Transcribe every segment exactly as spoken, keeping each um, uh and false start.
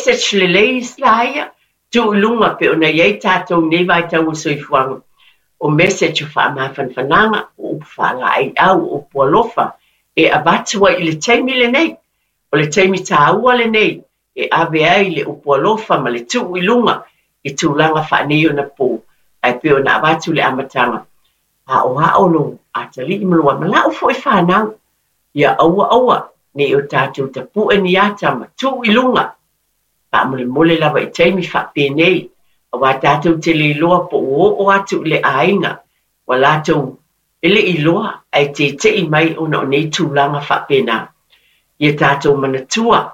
Message lelei la ia, tuu i luga pei ona i ai tatou i nei vaitau o le soifuaga. O message o faamafanafanaga, o upu faalaeiau, o upu alofa e avatu ai i le taimi lenei. O le taimi taua lenei e ave ai le upu alofa ma le tuu i luga i tulaga faaneionapo. Ae pei ona avatu le amataga, aoao lou atalii ma lou ama lau foi fanau. Ia aua aua ne i o tatou tapue ni ata ma tuu i luga. Faamolemole lava i taimi faapenei, auā tatou te le iloa po ua oo atu i le aiga ua latou e le i iloa ae tete'i mai ona o nei tulaga faapena. Ia tatou manatua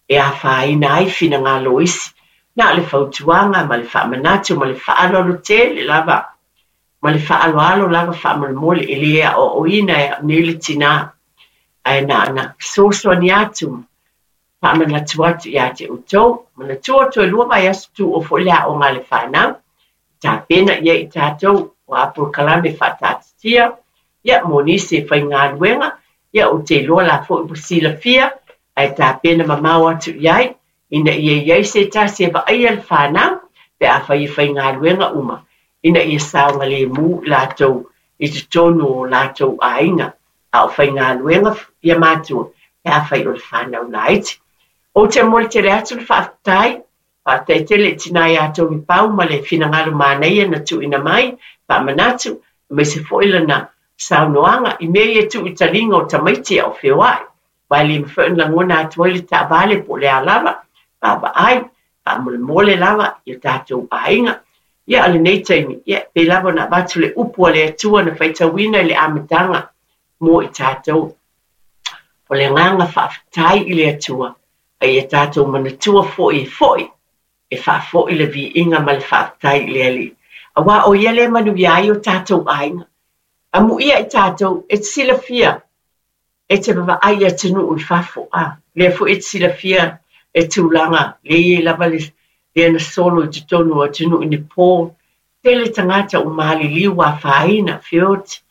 e afaina ai finagalo o isi. Na o le fautuaga ma le faamanatu ma le faaaloalo tele lava, ma le faaaloalo lava faamolemole e le aoaoina e au nei le tinā, ae na ona fesoasoani atu ma faamanatu atu ia te outou. Manatua toe lua vaiaso tuua foi le aoga a le fanau, tapena i ai i tatou o a polokalame faataatitia, ia mo nisi e faigaluega, ia ou te iloa la foi ua silafia, ae tapena mamao atu i ai, ina ia i ai se tasi e vaaia le fanau, pe afai e faigaluega uma, ina ia saogalemu latou i totonu o latou aiga, a o faigaluega ia matua, pe afai o le fanau laiti. Ou te momoli tele atu le faafetai, faafetai tele i tina ia Tony Pau ma le finagalo manaia na tuuina mai, faamanatu, aemaise foi lana saunoaga i mea ia tuu i taliga o tamaiti a o feoai. Aua e le mafai ona lagona atu ai le taavale po o le a lava, vaavaai, faamolemole lava i o tatou aiga. Ia, o lenei taimi, ia, pei lava ona avatu le upu a le Atua na faitauina i le amataga mo i tatou. O le agaga faafetai i le Atua, a ia tatou manatua foi e foi, e faafoi le viiga ma le faafetai i le Alii. Auā o ia lea e manuia ai o tatou aiga. Amuia i tatou, e te silafia, e te vaavaai i atunuu i fafo, a lea foi e te silafia le tulaga lea e i ai lava le lea na solo i totonu o atunuu i Nepal. Tele tagata ua maliliu ua afaina, feoti.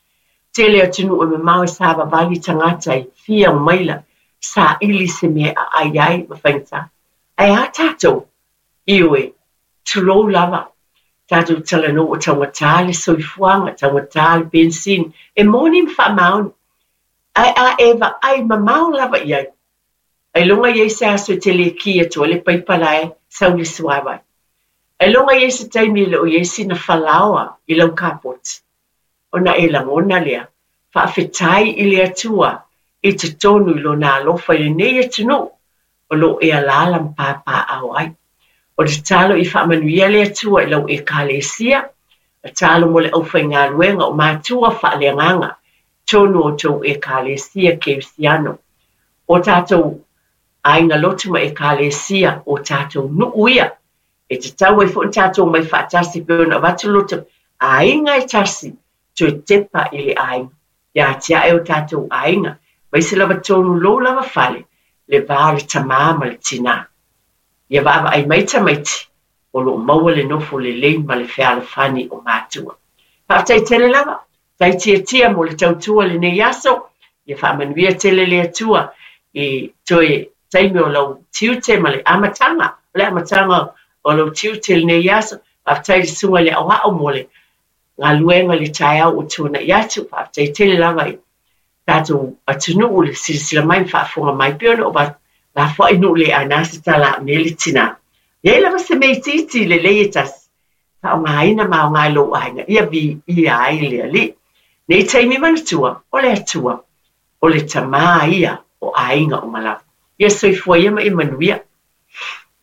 Tele atunuu e mamao e savavali tagata e fia maila saili se mea e aai ai ma faigata. Ae a tatou? Ioe, tulou lava. Tatou talanoa ua taugata le soifuaga, taugata le penisini. E moni ma faamaoni. Ae a e vaai mamao lava i ai, ailoga i ai se aso e te le ki atu ai le paipa la e sau le suavai. Ailoga i ai se taimi e le o i ai sina falaoa i lau kapoti. Ona e lagona lea, faafetai i le Atua i totonu i lona alofa i lenei atunuu o lo o e alaala ma papaaao ai. O le tatalo i faamanuia le Atua i lau Ekalesia, tatalo mo le aufaigaluega o matua faaleagaga totonu o outou Ekalesia Kerisiano. O tatou aiga lotu ma Ekalesia, o tatou nuu ia, e tatau ai foi ona tatou omai faatasi pei ona avatu loto aiga e tasi, toe tepa i le aiga. Ia atiae o tatou aiga, aemaise lava tonu lou lava fale, le va o le tamā ma le tinā. Ia vaavaai mai tamaiti, o lo o maua le nofo lelei ma le fealofani o matua. Faafetai tele lava, tai tiatia mo le tautua lenei aso, ia faamanuia tele le Atua i toe taimi o lau tiute ma le amataga, o le amataga o lau tiute lenei aso. Faafetai i le susuga i le aoao mo le galuega i le taeao ua tuanai atu. Faafetai tele lava i tatou atunuu le silasila mai ma faafofoga mai pei ona ou lafoai nuu le aina se tala au nei le tinā. E i ai lava se mea itiiti lelei e tasi, faaaogaina ma aoga i lou aiga, ia viia ai le Alii. Nei taimi manatua, o le Atua, o le tamā ia o aiga uma lava. Ia soifua ia ma ia manuia.